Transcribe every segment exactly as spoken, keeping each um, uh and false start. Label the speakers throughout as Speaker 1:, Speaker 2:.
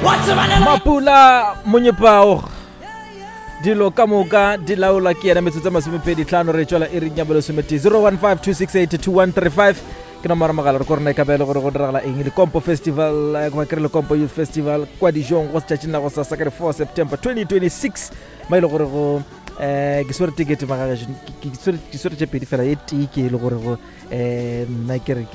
Speaker 1: Mapula Monyepao dilo ka moka di laolwa ke yena. Metsotso masomepedi tlhano re tšwela iring ya bolesometee. Zero one five two six eight two one three five ke nomoro mogala. Re ko rena e ka be le gore go diragala eng Lekompo Festival, eh, goba ke re Lekompo Youth Festival kwa dijong go setšatšing la go sasa ka di four September twenty twenty six, ma e le gore go um ke swere tekete magagešo, ke swere tše pedi fela. E tee ke e le gore go um nna ke re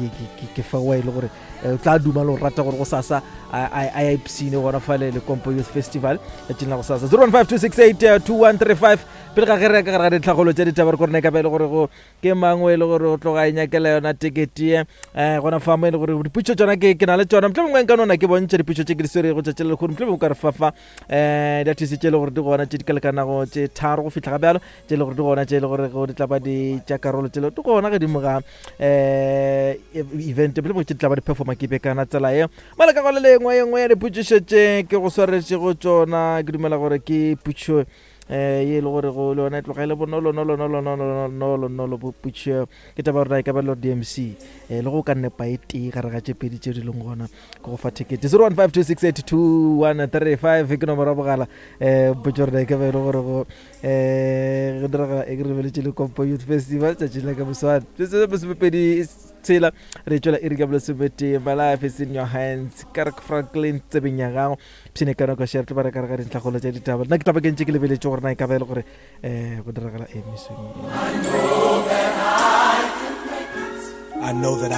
Speaker 1: ke fa wa e le gore o tla duma le go rata gore go sasa a ya ipsine gona fale Lekompo Youth Festival letšatšing la go sasa. Zero one five two six eight two one three five. Pele ga ge re ya ka gare ga ditlhagolo tša ditaba, re ko rena e ka ba e le gore go ke mangwe e le gore o tloga e nyakela yona tekete um gona fa mo e le gore diputšo tšona ke na le tšona. Mohlomongwe mongwe nka nona ke bontšha diputšo tše ke di swerego tšatši le lekgono. Mohlomongwe ka re fafa um diathisi tše e le gore di gona tše di ka lekanago tše tharo go fihla ga bjalo, tše e le gore di gona, tše e le gore go di tla ba di tša karolo tše di gona godimo ga um event. Mohlomongwe tše di tla ba di performa ke bekana tsela ye mola ka go le lengwe. Ye nngwe ya dipotšišo tše ke go swaretšego tšona, ke dumela gore ke putšo eh ye le gore go le yona e tloga e le bonolo nolo nolo nolo nolo nolo potšo. Ke taba gore e ka ba le D M C eh le go ka nepa e tee gare ga tše pedi tše di leng gona ke go fa tekete. Zero one five two six eight two one three five ke nomoro ya bogala. Eh potšo gore e ka ba e le gore go eh go diragala e ke re lebeletše Lekompo Youth Festival tšatši la ka moswane masomepedi tshela re tšwela iri ka bolesometee. My life is in your hands, Kirk Franklin tsebeng ya gago pshine ka nako share tlo ba re ka re ga dintlhagolo tša ditaba. Nna ke tla ba ke ntše ke lebeletše gore na e ka ba e le gore um go diragala e mesong.
Speaker 2: I know that I